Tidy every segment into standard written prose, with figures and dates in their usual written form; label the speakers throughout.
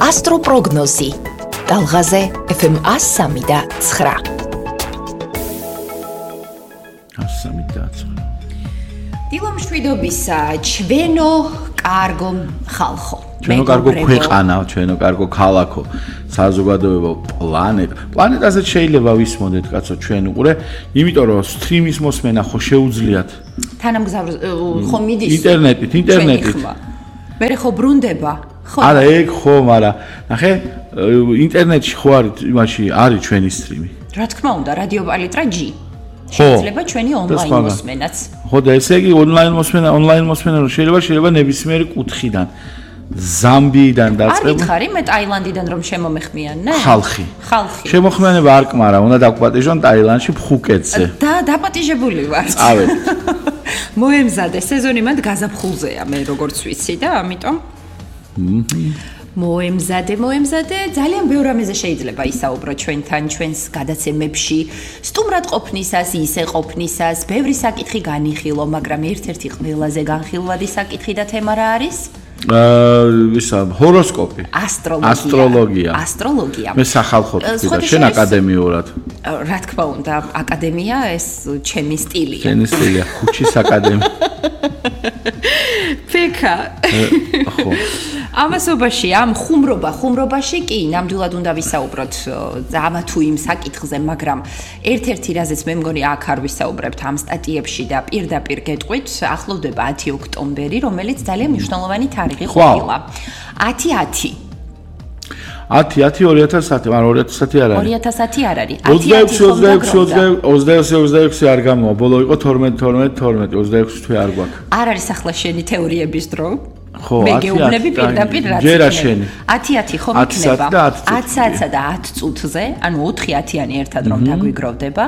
Speaker 1: ასტროპროგნოზი. Talgaze FM 103.9.
Speaker 2: 103.9.
Speaker 3: დილომშვიდობისა, ჩვენო კარგო ხალხო.
Speaker 2: ჩვენო კარგო ქვეყანა, ჩვენო კარგო ქალაქო, საზოგადოებო პლანეტაზე შეიძლება ვისმოდეთ კაცო ჩვენ უყურე, იმიტომ რომ სტრიმის მოსმენა ხო შეუძლიათ.
Speaker 3: თანამგზავრ ხო მიდის
Speaker 2: ინტერნეტით.
Speaker 3: მე ხო ბრუნდება. ხო.
Speaker 2: არა, ეგ ხო, მაგრამ ნახე, ინტერნეტში ხო არის, იმაში არის ჩვენი სტრიმი.
Speaker 3: რა თქმა უნდა, რადიო პალიტრა G. შეიძლება ჩვენი ონლაინ მოსმენაც.
Speaker 2: ხო და ესე იგი ონლაინ მოსმენა რომ შეიძლება ნებისმიერი კუთხიდან ზამბიიდან დაწყება.
Speaker 3: არ მითხარი მე ტაილანდიდან რომ შემომეხმიან, ნე?
Speaker 2: ხალხი. შემოხმიანება არ კმარა, უნდა დაგპატიჟონ ტაილანდში ფხუკეტზე.
Speaker 3: და დაპატიჟებული ვარ.
Speaker 2: წავედ.
Speaker 3: მოემზადე, სეზონი მანდ გაზაფხულზეა მე როგორც ვიცი და ამიტომ მოემზადე, ძალიან ბევრ რამეზე შეიძლება ისაუბრო ჩვენთან, ჩვენს გადაცემებში, სტუმრად ყოფნისას, ისე ყოფნისას, ბევრი საკითხი განიხილო, მაგრამ ერთ-ერთი ყველაზე განხილვადი საკითხი და თემა რა არის?
Speaker 2: ჰოროსკოპი.
Speaker 3: ასტროლოგია.
Speaker 2: მე სახალხოდ ვთქვი და შენ აკადემიურად.
Speaker 3: რა თქმა უნდა, აკადემია ეს ჩემი სტილია.
Speaker 2: ჩემი სტილია, ხუჩის აკადემია.
Speaker 3: ფეკა.
Speaker 2: ხო.
Speaker 3: ამასობაში, ამ ხუმრობაში კი ნამდვილად უნდა ვისაუბროთ ამა თუ იმ საკითხზე, მაგრამ ერთ-ერთი რაზეც მე მგონი აქ არ ვისაუბრებთ ამ სტატიებში და პირდაპირ გეტყვით, ახლოვდება 10 ოქტომბერი, რომელიც ძალიან მნიშვნელოვანი თარიღი ყოფილა. 10-10.
Speaker 2: 2010, მაგრამ 2010 არ არის.
Speaker 3: 2010 არ არის.
Speaker 2: 26 არ გამოვა, ბოლო იყო 12 26 თვე არ გვაქვს.
Speaker 3: არ არის ახლა შენი თეორიების დრო?
Speaker 2: ხო,
Speaker 3: მე გეუბნები პირდაპირ რაც 10-10 ხომ იქნება 10-10 და 10 წუთზე, ანუ 4-10-იანი ერთად რომ დაგვიგროვდება,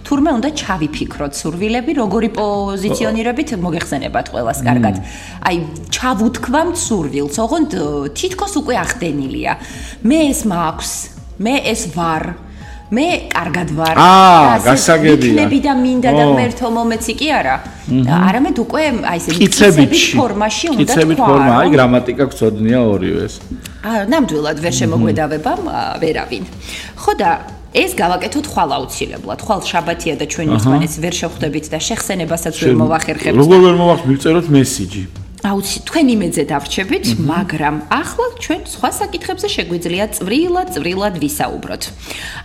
Speaker 3: თურმე უნდა ჩავიფიქროთ სურვილები, როგორი პოზიციონირებით მოგეხსენებათ ყველას კარგად. აი, ჩავუთქვამთ სურვილს, ოღონდ თითქოს უკვე ახდენილია. მე ეს მაქვს, მე ეს ვარ. მე კარგად ვარ.
Speaker 2: გასაგებია.
Speaker 3: იქნები და მინდა და მერთო მომეცი კი არა. არამედ უკვე აი ესე კიცებით ფორმაში უნდა თქვა. კიცებით ფორმა,
Speaker 2: აი გრამატიკა გწოდნია ორივეს.
Speaker 3: ნამდვილად ვერ შემოგვედავება ვერავინ. ხო და ეს გავაკეთოთ ხვალ აუცილებლად. ხვალ შაბათია და ჩვენ ერთმანეთს ვერ შევხვდებით და შეხსენებასაც ვერ მოვახერხებთ.
Speaker 2: როგორ ვერ მოვახერხებთ, მივწეროთ მესიჯი.
Speaker 3: თქვენ იმედზე დავრჩებით, მაგრამ ახლა ჩვენ სხვა საკითხებზე შეგვიძლია წვრილად ვისაუბროთ.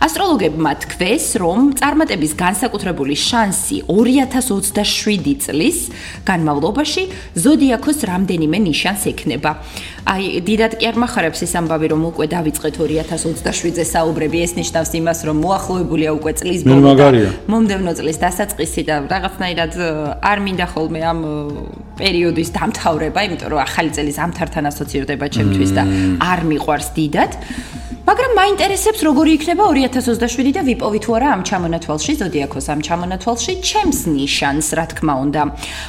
Speaker 3: ასტროლოგებმა თქვეს, რომ წარმატების განსაკუთრებული შანსი 2027 წლის განმავლობაში ზოდიაქოს რამდენიმე ნიშანს ექნება. აი, დიდად კი არ მახარებს ეს ამბავი, რომ უკვე დავიწყეთ 2027-ზე საუბრები, ეს ნიშნავს იმას, რომ მოახლოებულია უკვე წლის ბოლო და მომდევნო წლის დასაწყისი და რაღაცნაირად არ მინდა ხოლმე ამ პერიოდის დამთავრება, იმიტომ რომ ახალი წელი ზამთართან ასოცირდება ჩემთვის და არ მიყვარს დიდად. მაგრამ მაინტერესებს როგორი იქნება 2027 და ვიპოვი თუ არა ამ ჩამონათვალში, ზოდიაქოს ამ ჩამონათვალში ჩემს ნიშანს, რა თქმა უნდა.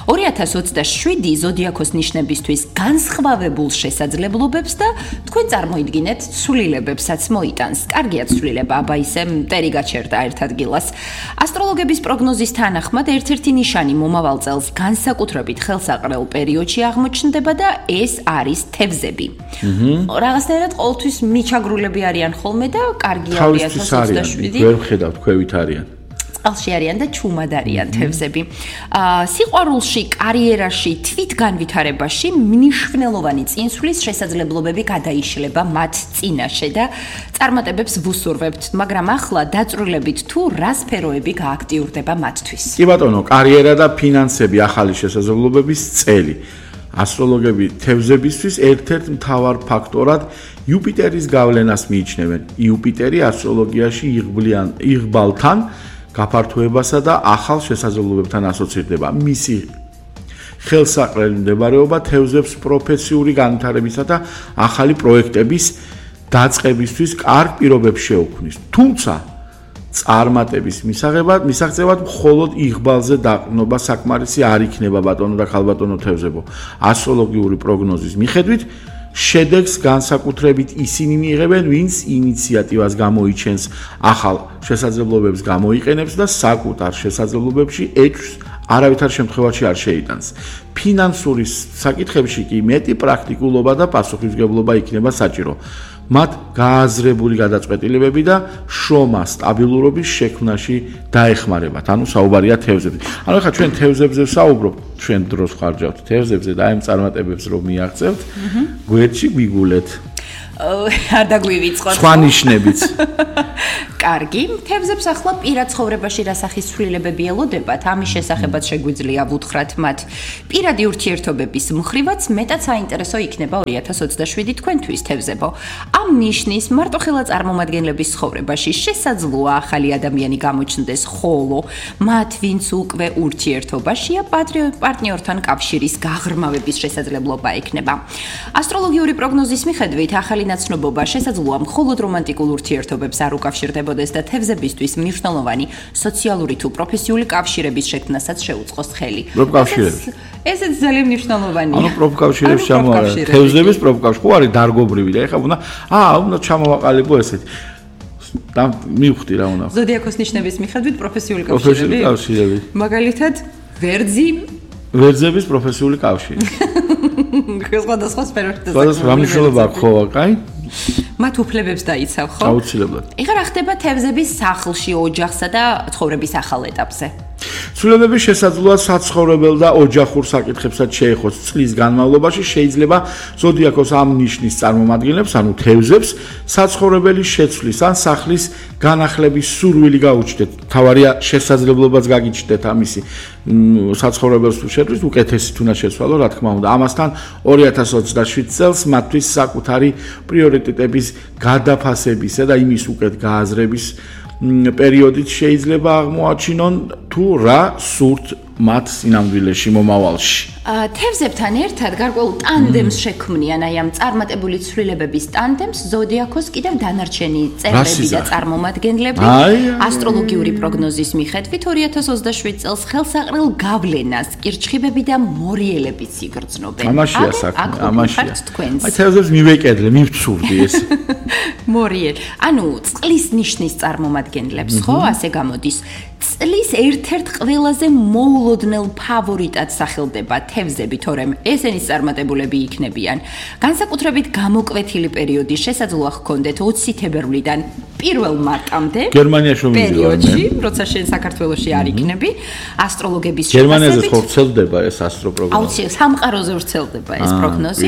Speaker 3: 2027 ზოდიაქოს ნიშნებისთვის განსხვავებულ შესაძლებლობებს და თქვენ წარმოიდგინეთ ცვლილებებსაც მოიტანს. კარგია ცვლილება, აბა ისე მტერი გაჩერდა ერთ ადგილას. ასტროლოგების პროგნოზის თანახმად ერთ-ერთი ნიშანი მომავალ წელს განსაკუთრებით ხელსაყრელ პერიოდში აღმოჩნდება და ეს არის თევზები. რაღაცნაირად ყოველთვის მიჩაგრულები არიან ხოლმე და კარგია 2027.
Speaker 2: ვერ ვხედავთ, ქვევით არიან.
Speaker 3: წყალში არიან და ჩუმად არიან თევზები. სიყვარულში, კარიერაში, თვითგანვითარებაში მნიშვნელოვანი წინსვლის შესაძლებლობები გადაიშლება მათ წინაშე და წარმატებებს ვუსურვებთ, მაგრამ ახლა დაწვრილებით თუ რა სფეროები გააქტიურდება მათთვის.
Speaker 2: კი ბატონო, კარიერა და ფინანსები ახალი შესაძლებლობების წელი. ასტროლოგები თევზებისთვის ერთ-ერთ მთავარ ფაქტორად იუპიტერის გავლენას მიიჩნევენ. იუპიტერი ასტროლოგიაში იღბალთან გაფართოებასა და ახალ შესაძლებლობებთან ასოცირდება. მისი ხელსაყრელი მდებარეობა თევზებს პროფესიული განვითარებისა და ახალი პროექტების დაწყებისთვის კარგ პირობებს შეუქმნის. თუმცა წარმატების მისაღწევად მხოლოდ იღბალზე დაყრდნობა საკმარისი არ იქნება ბატონო და ხალბატონო თევზებო. ასტროლოგიური პროგნოზის მიხედვით შედეგს განსაკუთრებით ისინი მიიღებენ, ვინც ინიციატივას გამოიჩენს, ახალ შესაძლებლობებს გამოიყენებს და საკუთარ შესაძლებლობებში ეჭვს არავითარ შემთხვევაში არ შეიტანს. ფინანსური საკითხებში კი მეტი პრაქტიკულობა და პასუხისმგებლობა იქნება საჭირო. მათ გააზრებული გადაწყვეტილებები და შრომა სტაბილურობის შექმნაში დაეხმარებათ. ანუ საუბარია თევზებზე. ანუ ხა ჩვენ თევზებზე ვსაუბრობთ, ჩვენ დროს ხარჯავთ თევზებზე და აი ამ წარმატებებს რომ მიაღწევთ, გვერდში გვიგულეთ.
Speaker 3: არ დაგვივიწყოთ.
Speaker 2: სხვა ნიშნებიც.
Speaker 3: კარგი, თევზებს ახლა პირად ცხოვრებაში რა სახის ცვლილებები ელოდებათ, ამის შესახებაც შეგვიძლია ვუთხრათ მათ. პირადი ურთიერთობების მხრივაც მეტად საინტერესო იქნება 2027 თქვენთვის თევზებო. ამ ნიშნის მარტოხელა წარმომადგენლების ცხოვრებაში შესაძლოა ახალი ადამიანი გამოჩნდეს, ხოლო მათ, ვინც უკვე ურთიერთობაშია, პარტნიორთან კავშირის გაღრმავების შესაძლებლობა ექნება. ასტროლოგიური პროგნოზის მიხედვით ახალი ნაცნობობა შესაძლოა მხოლოდ რომანტიკულ ურთიერთობებს არ უკავშირდებოდეს და თევზებისთვის მნიშვნელოვანი სოციალური თუ პროფესიული კავშირების შექმნასაც შეუწყოს ხელი.
Speaker 2: პროფკავშირები.
Speaker 3: ესეც ძალიან მნიშვნელოვანია.
Speaker 2: ანუ პროფკავშირებს ჩამოაყალიბო. თევზების პროფკავშირი ხო არის დარგობრივი და ეხლა უნდა ჩამოვაყალიბო ესეთი. და მივხვდი რა უნდა.
Speaker 3: ზოდიაქოს ნიშნების მიხედვით პროფესიული კავშირები. მაგალითად,
Speaker 2: ვერძების პროფესიული კავშირი.
Speaker 3: სხვადასხვა სფეროში.
Speaker 2: სხვადასხვა მნიშვნელობა აქვს ხო, კაი?
Speaker 3: მათ უფლებებს დაიცავ, ხო?
Speaker 2: აუცილებლად.
Speaker 3: ეხლა რა ხდება თევზების სახლში, ოჯახსა და ცხოვრების ახალ ეტაპზე?
Speaker 2: ცვლილებები შესაძლოა საცხოვრებელ და ოჯახურ საკითხებსაც შეეხოს. წლის განმავლობაში შეიძლება ზოდიაქოს ამ ნიშნის წარმომადგენლებს, ანუ თევზებს, საცხოვრებელი შეცვლის ან სახლის განახლების სურვილი გაუჩნდეთ. თავარია შესაძლებლობაც გაგიჩნდეთ ამისი საცხოვრებელს თუ შეცვლის, უკეთესი თუნდაც შეცვალო, რა თქმა უნდა. ამასთან 2027 წელს მათთვის საკუთარი პრიორიტეტების გადაფასებისა და იმის უკეთ გააზრების პერიოდით შეიძლება აღმოაჩინონ თუ რა სურთ მათ სინამდვილეში მომავალში.
Speaker 3: თევზებთან ერთად გარკვეულ ტანდემს შექმნიან, აი ამ წარმატებული ცვლილებების ტანდემს ზოდიაქოს კიდევ დანარჩენი წევრები და წარმომადგენლები. ასტროლოგიური პროგნოზის მიხედვით 2027 წელს ხელსაყრელ გავლენას კირჩხიბები და მორიელებიც იგრძნობენ.
Speaker 2: ამაშია საქმე, ამაშია. აი თევზებს მივეკედლე, მივცურდი ეს.
Speaker 3: მორიელ. ანუ წყლის ნიშნის წარმომადგენლებს, ხო, ასე გამოდის. წლის ერთ-ერთ ყველაზე მოულოდნელ ფავორიტად სახელდება თევზები, თორემ ესენი წარმატებულები იქნებიან. განსაკუთრებით გამოკვეთილი პერიოდი შესაძლოა ჰქონდეთ 20 თებერვლიდან 1 მარტამდე.
Speaker 2: გერმანიაში
Speaker 3: პერიოდში, როცა შენ საქართველოში არ იქნები, ასტროლოგების
Speaker 2: გერმანიაზე ხო ვრცელდება ეს ასტროპროგნოზი?
Speaker 3: აუცილებლად სამყაროზე ვრცელდება ეს პროგნოზი.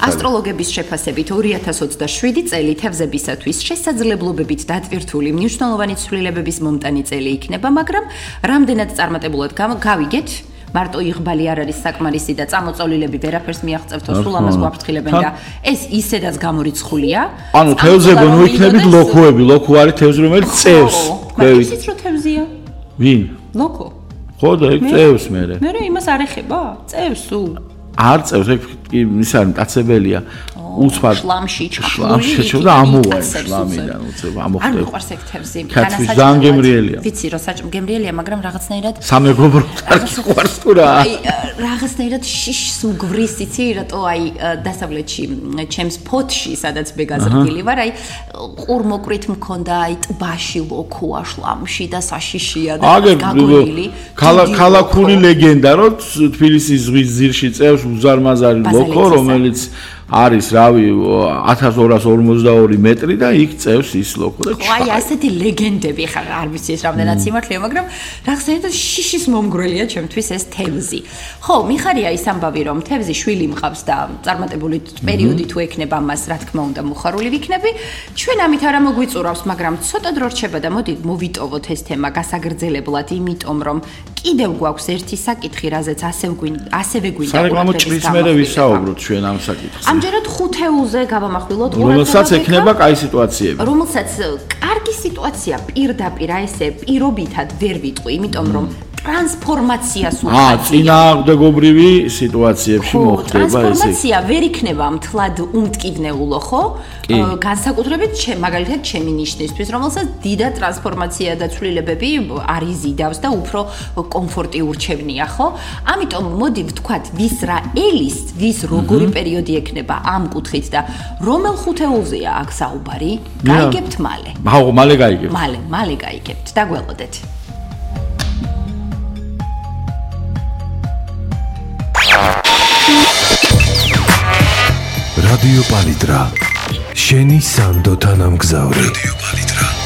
Speaker 3: ასტროლოგების შეფასებით 2027 წელი თევზებისათვის შესაძლებლობებით დატვირთული მნიშვნელოვანი ცვლილებების მომტანი წელი იქნება, მაგრამ რამდენად წარმატებულად გავიგეთ, მარტო იღბალი არ არის საკმარისი და წამოწოლილები ვერაფერს მიაღწევთო, სულ ამას გვაფრთხილებენ და ეს ისედაც გამორიცხულია.
Speaker 2: ანუ თევზებო ნუ იქნებით ლოქოები, ლოქო არის თევზი რომელიც წევს.
Speaker 3: იცით რომ თევზია?
Speaker 2: ვინ?
Speaker 3: ლოქო.
Speaker 2: ხო და ეგ წევს მე.
Speaker 3: მე იმას არ ეხება? წევს სულ.
Speaker 2: არ წევს, ეგ ის არის მტაცებელია. უცბად
Speaker 3: შლამში
Speaker 2: ჩხლამში და ამოვარ შლამიდან უცებ ამოხდება.
Speaker 3: არ მიყვარს ეგ თევზი.
Speaker 2: განსაჭიროა გემრიელია.
Speaker 3: ვიცი რომ გემრიელია, მაგრამ რაღაცნაირად
Speaker 2: სამეგობროდ არ გიყვარს თუ რა.
Speaker 3: აი რაღაცნაირად შიშს უგვრის, იცი რატო აი დასავლეთში ჩემს ფოთში, სადაც მე გაზრდილი ვარ, აი ყურმოკვით მქონდა აი ტბაში ლოქოა შლამში და საშიშია და გაგონილი.
Speaker 2: ქალაქური ლეგენდა რომ თბილისის ზღვის ძირში წევს უზარმაზარი ლოქო, რომელიც არის რავი 1242 მეტრი და იქ წევს ის ლოქო და
Speaker 3: აი ასეთი ლეგენდები ხარ არ ვიცი ეს რამდენად სიმართლეა მაგრამ რაღაცნაირად შიშის მომგვრელია ჩემთვის ეს თევზი ხო მიხარია ის ამბავი რომ თევზი შვილი მყავს და წარმატებული პერიოდი თუ ექნება მას რა თქმა უნდა მოხარული ვიქნები ჩვენ ამით არა მოგვიწურავს მაგრამ ცოტა დრო რჩება და მოდი მოვიტოვოთ ეს თემა გასაგრძელებლად იმიტომ რომ კიდევ გვაქვს ერთი საკითხი რაზეც ასევე გვინდა
Speaker 2: საერთოდ ჭრის მერე ვისაუბროთ ჩვენ ამ საკითხზე
Speaker 3: ამჯერად ხუთეულზე გავამახვილოთ
Speaker 2: რომელსაც ექნება კაი სიტუაციები
Speaker 3: რომელსაც კარგი სიტუაცია პირდაპირ ესე პირობითად ვერ ვიტყვი იმიტომ რომ ტრანსფორმაციას
Speaker 2: უხდიდა. წინააღმდეგობრივი სიტუაციებში მოხდება ესე.
Speaker 3: ტრანსფორმაცია ვერ იქნება მთლად უმტკივნეულო, ხო? განსაკუთრებით მაგალითად ჩემი ნიშნისთვის, რომელსაც დიდი ტრანსფორმაცია და ცვლილებები არ იზიდავს და უფრო კომფორტი ურჩევნია, ხო? ამიტომ მოდი ვთქვათ, ვის რა ელის, ვის როგორი პერიოდი ექნება ამ კუთხით და რომელ ხუთეულზეა აქ საუბარი? გაიგებთ მალე.
Speaker 2: მალე გაიგებთ.
Speaker 3: მალე გაიგებთ. დაგველოდეთ.
Speaker 4: რადიო პალიტრა. შენი სანდო თანამგზავრი. რადიო პალიტრა.